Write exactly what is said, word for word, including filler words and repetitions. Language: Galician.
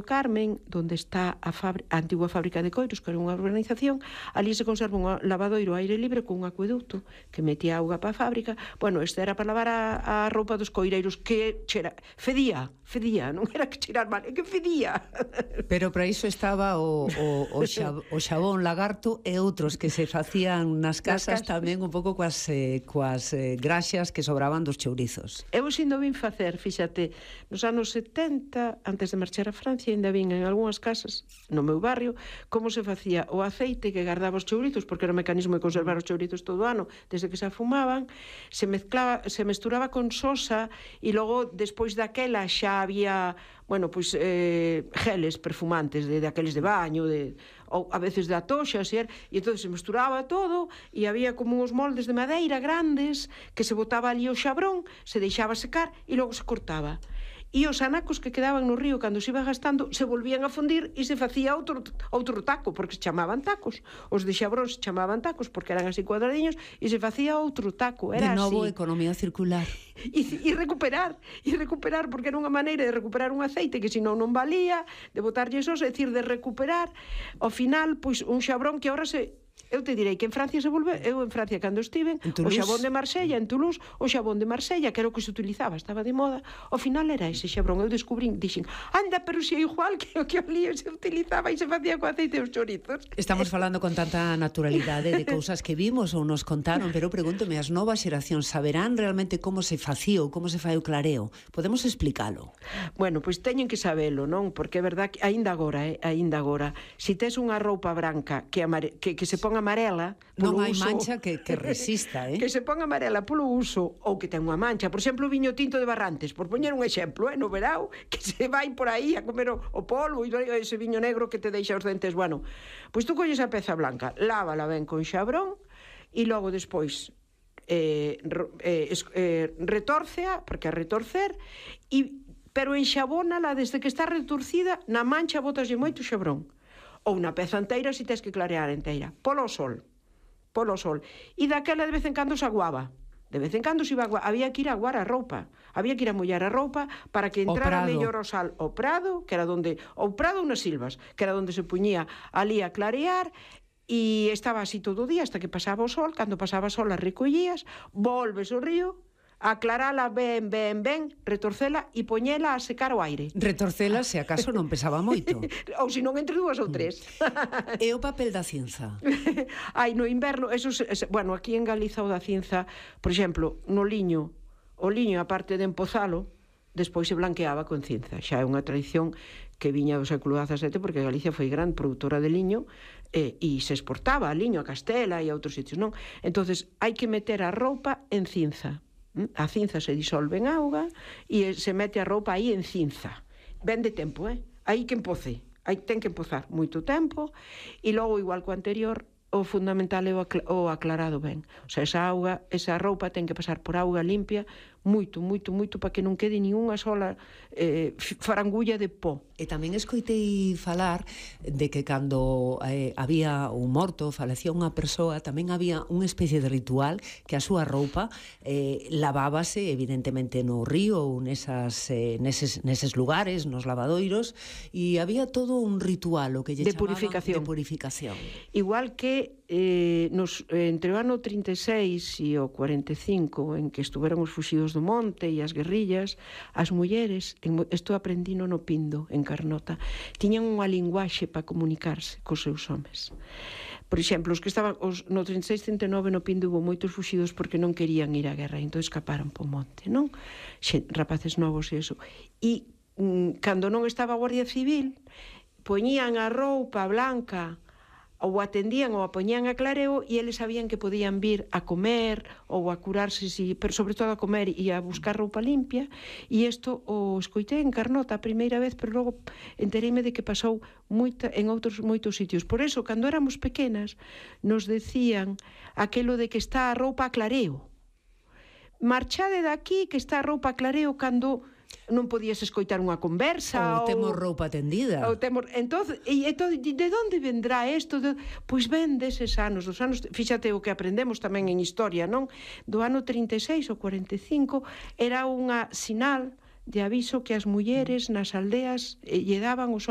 Carmen, donde está a, a antigua fábrica de coiros, que era unha urbanización, ali se conserva un lavadoiro ao aire libre con un acueducto que metía auga para a fábrica. Bueno, este era para lavar a, a roupa dos coireiros, que chera, fedía, fedía, non era que cheirar mal, é que fedía. Pero para iso estaba o, o, o, xab, o xabón lagarto e outros que se facían nas casas, nas casas. Tamén un pouco coas, eh, coas eh, graxas que sobraban dos chourizos. Eu xindo vin facer, fíxate, nos anos setenta, antes de marchar a Francia, ainda vin en algunhas casas, no meu barrio, como se facía o aceite que guardaba os chourizos, porque era o mecanismo de conservar os chourizos todo o ano, desde que se afumaban, se mezclaba, se mesturaba con sosa, e logo, despois daquela, xa había, bueno, pois, eh, geles perfumantes, de, de aqueles de baño, de, ou a veces de atoxas, e, e entón se mesturaba todo, e había como uns moldes de madeira grandes, que se botaba ali o xabrón, se deixaba secar, e logo se cortaba. E os anacos que quedaban no río cando se iba gastando se volvían a fundir e se facía outro, outro taco, porque se chamaban tacos. Os de xabrón se chamaban tacos porque eran así cuadradiños e se facía outro taco. Era de novo, así. Economía circular. E, e recuperar, e recuperar, porque era unha maneira de recuperar un aceite que senón non valía, de botarlle esos, é dicir, de recuperar. Ao final, pois, un xabrón que agora se... Eu te direi que en Francia se volve, eu en Francia cando estive, o xabón de Marsella, en Toulouse, o xabón de Marsella, que era o que se utilizaba, estaba de moda, ao final era ese xabrón, eu descubrín, dixen, anda, pero se é igual que o que ali se utilizaba e se facía co aceite dos chorizos. Estamos falando con tanta naturalidade de cousas que vimos ou nos contaron, pero pregúntome, as novas xeracións saberán realmente como se facía ou como se fai o clareo? Podemos explicalo? Bueno, pois teñen que sabelo, non? Porque é verdad que aínda agora, eh, aínda agora, se tes unha roupa branca que, amare... que, que se pon amarela non hai uso, mancha que, que resista, eh? Que se pon amarela polo uso ou que ten unha mancha, por exemplo, o viño tinto de Barrantes, por poñer un exemplo, eh, no verao, que se vai por aí a comer o, o polvo e ese viño negro que te deixa os dentes, bueno, pois tú colles a peza blanca, lávala ben con xabrón e logo despois eh, eh, eh, retórcea, porque a retorcer, e, pero enxabónala desde que está retorcida, na mancha botaslle moito xabrón. Ou na peza inteira se tes que clarear inteira, polo sol, polo sol. E daquela de vez en cando se aguaba, de vez en cando se iba a aguar, había que ir a aguar a roupa, había que ir a mollar a roupa para que entrara mellor o sal o prado, que era donde, o prado unas silvas, que era donde se puñía ali a clarear, e estaba así todo o día, hasta que pasaba o sol, cando pasaba o sol as recollías, volves ao río, aclarala ben, ben, ben, retorcela e poñela a secar o aire. Retorcela se acaso non pesaba moito. Ou se non entre dúas ou tres. E o papel da cinza? Ai, no inverno, eso, bueno, aquí en Galiza o da cinza, por exemplo, no liño, o liño, a parte de empozalo, despois se blanqueaba con cinza. Xa é unha tradición que viña do século dezasete, porque Galicia foi gran produtora de liño, e, e se exportaba a liño a Castela e a outros sitios, non? Entonces, hai que meter a roupa en cinza. A cinza se disolve en auga e se mete a roupa aí en cinza. Ben de tempo, eh? Aí que empoce. Aí ten que empozar moito tempo e logo, igual co anterior, o fundamental é o aclarado ben. O sea, esa auga, esa roupa ten que pasar por auga limpia moito, moito, moito, para que non quede ni unha sola eh, farangulla de pó. E tamén escoitei falar de que cando eh, había un morto, falecía unha persoa, tamén había unha especie de ritual que a súa roupa eh, lavábase evidentemente no río ou nesas, eh, neses, neses lugares, nos lavadoiros, e había todo un ritual o que lle de chamaban purificación. de purificación. Igual que eh, nos, entre o ano trinta e seis e o cuarenta e cinco, en que estuveron os fuxidos do monte e as guerrillas, as mulleres, isto aprendino no Pindo, en Carnota, tiñan unha linguaxe para comunicarse cos seus homes. Por exemplo, os que estaban os, no trinta e seis trinta e nove no Pindo hubo moitos fuxidos porque non querían ir á guerra, entón escaparon po monte, non? Xe, rapaces novos e eso. E mm, cando non estaba a Guardia Civil, poñían a roupa blanca ou atendían ou a poñían a clareo e eles sabían que podían vir a comer ou a curarse, si, pero sobre todo a comer e a buscar roupa limpia, e isto o escoitei en Carnota a primeira vez, pero logo entereime de que pasou moita, en outros moitos sitios. Por eso, cando éramos pequenas, nos decían aquelo de que está a roupa a clareo. Marchade daqui que está a roupa a clareo cando non podías escoitar unha conversa ou temos roupa tendida ou temos, entonces, e, entón, de onde vendrá isto? De, pois ven deses anos, dos anos, fíxate o que aprendemos tamén en historia, non? Do ano trinta e seis ou cuarenta e cinco era unha sinal de aviso que as mulleres nas aldeas eh, lle daban os